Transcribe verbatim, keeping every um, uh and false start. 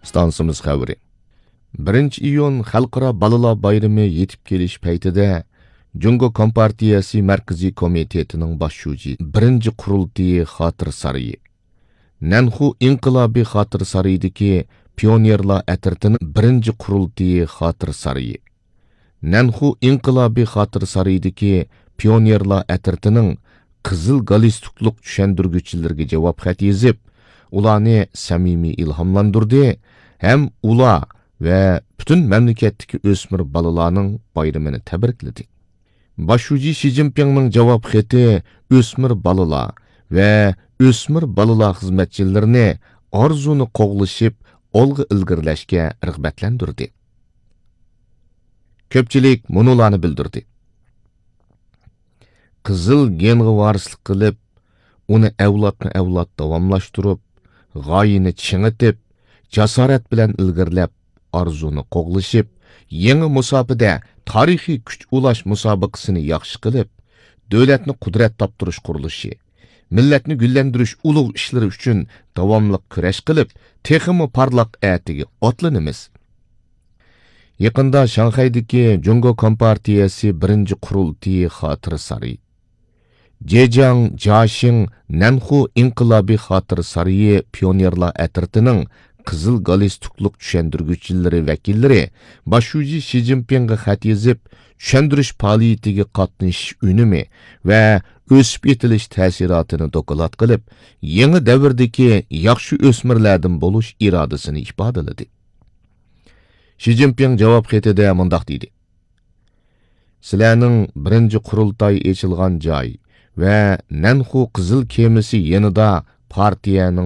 ئىستانسىمىز خەۋىرى. بىرىنچى ئىيۇن خەلقئارا بالىلار بايرىمى يېتىپ كېلىش پەيتىدە، جۇڭگو كومپارتىيەسى مەركىزىي كومىتېتىنىڭ باش شۇجى بىرىنچى قۇرۇلتىيى خاتىرە سارىيى، نەنخۇ ئىنقىلابىي خاتىرە سارىيىدىكى پىيونېرلار ئەترىتىنىڭ بىرىنچى قۇرۇلتىيى خاتىرە سارىيى، نەنخۇ ئىنقىلابىي خاتىرە سارىيىدىكى پىيونېرلار ئەترىتىنىڭ قىزىل گالىستۇكلۇق چۈشەندۈرگۈچىلىرىگە جاۋاب خەت يېزىپ، ئۇلارنى سەمىمىي ئىلھاملاندۇردى ھەم ئۇلار ۋە پۈتۈن مەملىكەتتىكى ئۆسمۈر بالىلارنىڭ بايرىمىنى تەبرىكلىدى. باش شۇجى شى جىنپىڭنىڭ جاۋاب خېتى ئۆسمۈر بالىلار ۋە ئۆسمۈر بالىلار خىزمەتچىلىرىنى ئارزۇنى قوغلىشىپ، ئالغا ئىلگىرىلەشكە رىغبەتلەندۈردى. كۆپچىلىك مۇنۇلارنى بىلدۈردى: قىزىل گېنغا ۋارىسلىق قىلىپ، ئۇنى ئەۋلادمۇ ئەۋلاد داۋاملاشتۇرۇپ، غايىنى چىڭىتىپ، جاسارەت بىلەن ئىلگىرىلەپ، ئارزۇنى قوغلىشىپ، يېڭى مۇساپىدە تارىخىي كۈچ ئۇلاش مۇسابىقىسىنى ياخشى قىلىپ، دۆلەتنى قۇدرەت تاپتۇرۇش قۇرۇلۇشى، مىللەتنى گۈللەندۈرۈش ئۇلۇغ ئىشلىرى ئۈچۈن داۋاملىق كۈرەش قىلىپ، تېخىمۇ پارلاق ئەتىگە ئاتلىنىمىز. يېقىندا شاڭخەيدىكى جۇڭگو كومپارتىيەسى بىرىنچى قۇرۇلتىيى خاتىرە سارىيى، جېجياڭ جياشىڭ نەنخۇ ئىنقىلابىي خاتىرە سارىيى پىيونېرلار ئەترىتىنىڭ قىزىل گالىستۇكلۇق چۈشەندۈرگۈچىلىرى ۋەكىللىرى باش شۇجى شى جىنپىڭغا خەت يېزىپ، چۈشەندۈرۈش پائالىيىتىگە قاتنىشىش ئۈنۈمى ۋە ئۆسۈپ يېتىلىش تەسىراتىنى دوكلات قىلىپ، يېڭى دەۋردىكى ياخشى ئۆسمۈرلەردىن بولۇش ئىرادىسىنى ئىپادىلىدى. شى جىنپىڭ جاۋاب خېتىدە مۇنداق دېدى: سىلەرنىڭ بىرىنچى قۇرۇلتاي ئېچىلغان جاي ۋە نەنخۇ قىزىل كېمىسى يېنىدا پارتىيەنىڭ